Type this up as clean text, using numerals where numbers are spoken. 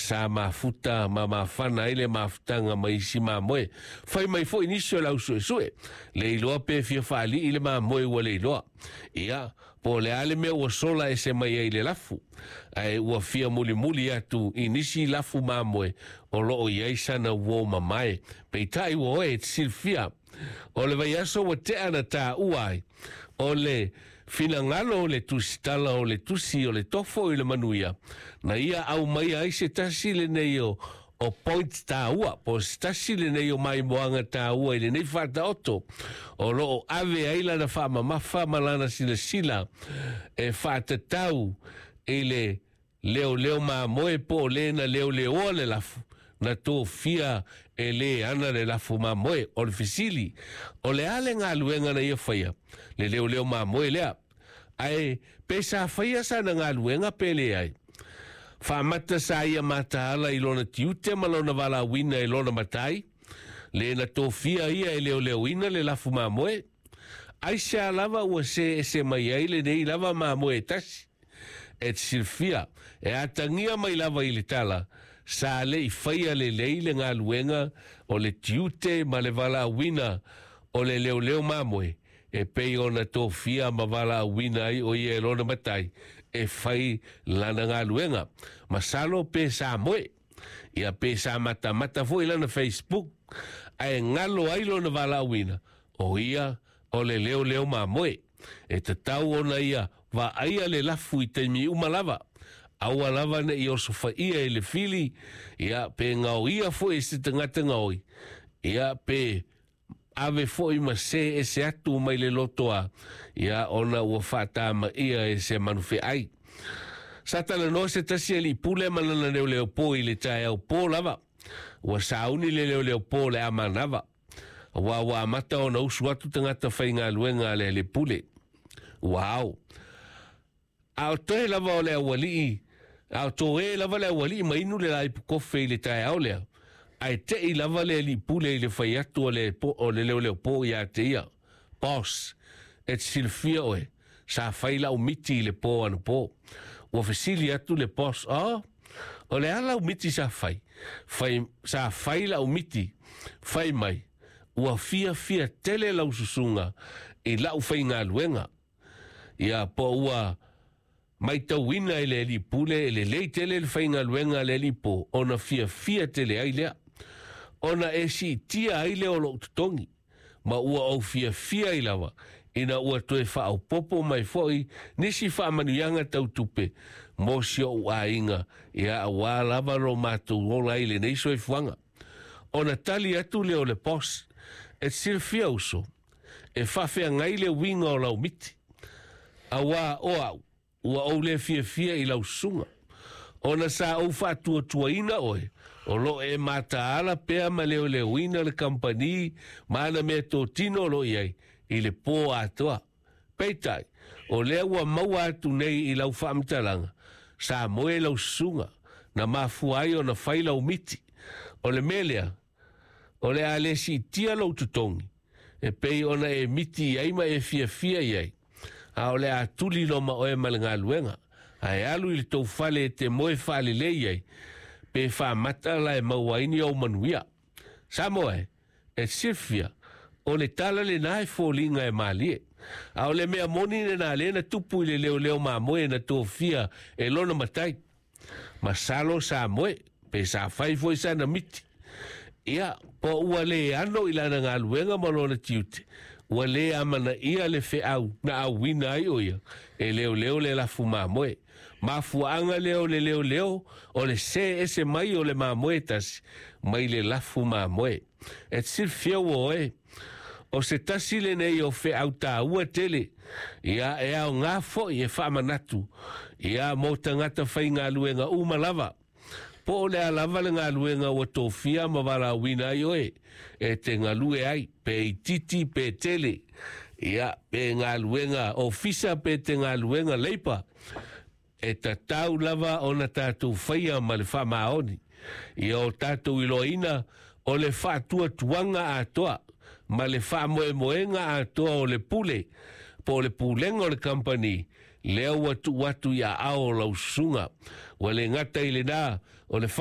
Sa mafuta ma mafana ai le mafutaga ma isi mamoe. Fai mai foi nisi o le au suesue, le iloa pe fia faalii le mamoe ua le iloa. Ia, po o le a le mea ua sola ese mai ai i le lafu, ae ua fia mulimuli atu i nisi lafu mamoe o lo o i ai sana uo mamae. Peitai ua oe e te silafia, o le vaiaso ua tea na taua ai, o le finagalo o le tusitala o le tusi o le tofo i le manuia, na ia aumaia ai se tasi lenei o o point taua, po o se tasi lenei o maimoaga taua i lenei faataoto, o lo o ave ai lana faamamafa ma lana silasila e faatatau i le leoleo mamoe po o le na leoleoa le lafu, na tofia e le ana le lafu mamoe. O le fesili, o le a le galuega na ia faia, le leoleo mamoe lea? Ae pe sa faia sana galuega pe leai? Faamata sa ia mataala i lona tiute ma lona valaauina e lona matai, le na tofia ia e leoleoina le lafu mamoe? Aisea lava ua see ese mai ai lenei lava mamoe e tasi? E te silafia, e atagia mai lava i le tala, sa le i faia lelei le galuega o le tiute ma le valaauina o le leoleo mamoe, e pei ona tofia ma valaauina ai o ia e lona matai e fai lana galuega. Masalo pe sa moe, ia pe sa matamata foi lana Facebook, ae galo ai lona valaauina, o ia o le leoleo mamoe. E tatau ona ia vaaia le lafu i taimi uma lava, aua lava ne i osofaia e le fili, ia pe gaoia foi e se tagata gaoi, ia pe ave foi ma see ese atu mai le lotoa, ia ona ua faatamaia e se manufeai. Sa talanoa se tasi alii pule ma lana leoleo po i le taeao po lava. Ua sauni le leoleo po o le a manava, aua ua amata ona usu atu tagata faigaluega a le alii pule. Ua ao. A o toe lava o le aualii, a o toe lava le aualii ma inu le laipu kofe i le taeao lea, ae tei lava le alii pule i le fai atu o le, o le leoleo po ia te ia, Boss, e te silafia oe, sa fai lau miti i le po anapo. Ua fesili atu le boss, Oh, o le a lau miti sa fai? Fai, sa fai lau miti, fai mai, ua fiafia tele lau susuga i lau faigaluega. Ia, po ua maitauina e le alii pule e lelei tele le faigaluega a le alii po, ona fiafia tele ai lea. Ona e siitia ai lea o lou totogi, ma ua ou fiafia ai lava, ina ua toe faaopoopo mai foi nisi faamanuiaga tau tupe mo si ou aiga, ia aua lava lo matou ola ai i lenei soifuaga. Ona tali atu lea o le boss, E te silafia uso, e faafeagai le uiga o lau miti, auā o au, ua ou le fiafia i lau susuga, ona sa ou faatuatuaina oe, o lo o e mataala pea ma leoleoina le kamupani ma ana meatotino o lo o i ai i le pō atoa. Peitai, o lea ua maua atu nei i lau faamatalaga, sa moe lau susuga, na mafua ai ona fai lau miti. O le mea lea, O le a le siitia lou totogi, e pei ona e miti i ai ma e fiafia i ai, a o le a tuli loa ma oe ma le galuega, ae alu i le tou fale e te moe faalelei ai, pe faamata la e maua ai ni ou manuia. Samoa e, e te silafia, o le tala lena e foliga e malie. A o le mea moni lena lea na tupu i le leoleo mamoe na tofia e lona matai. Masalo sa moe, pe sa fai foi sana miti. Ia, po ua le ano i lana galuega ma lona tiute, ua le amanaia le feau na auina ai o ia e leoleo le lafu mamoe. Mafuaaga lea o le leoleo o le see ese mai o le mamoe tasi mai le lafu mamoe. E te silafia ua oe, o se tasi lenei o feau taua tele, ia e aoga foi e faamanatu, ia mo tagata faigaluega uma lava. Po o le a lava le galuega ua tofia ma valaauina ai oe e te galue ai, pe itiiti pe tele, ia pe galuega ofisa pe te galuega leipa, E tatau lava ona tatou faia ma le faamaoni ia o tatou iloaina o le faatuatuaga atoa ma le faamoemoega atoa o le pule po o le pulega o le kamupani lea ua tuu atu i aao o lau susuga. Ua le gata i lena, o le.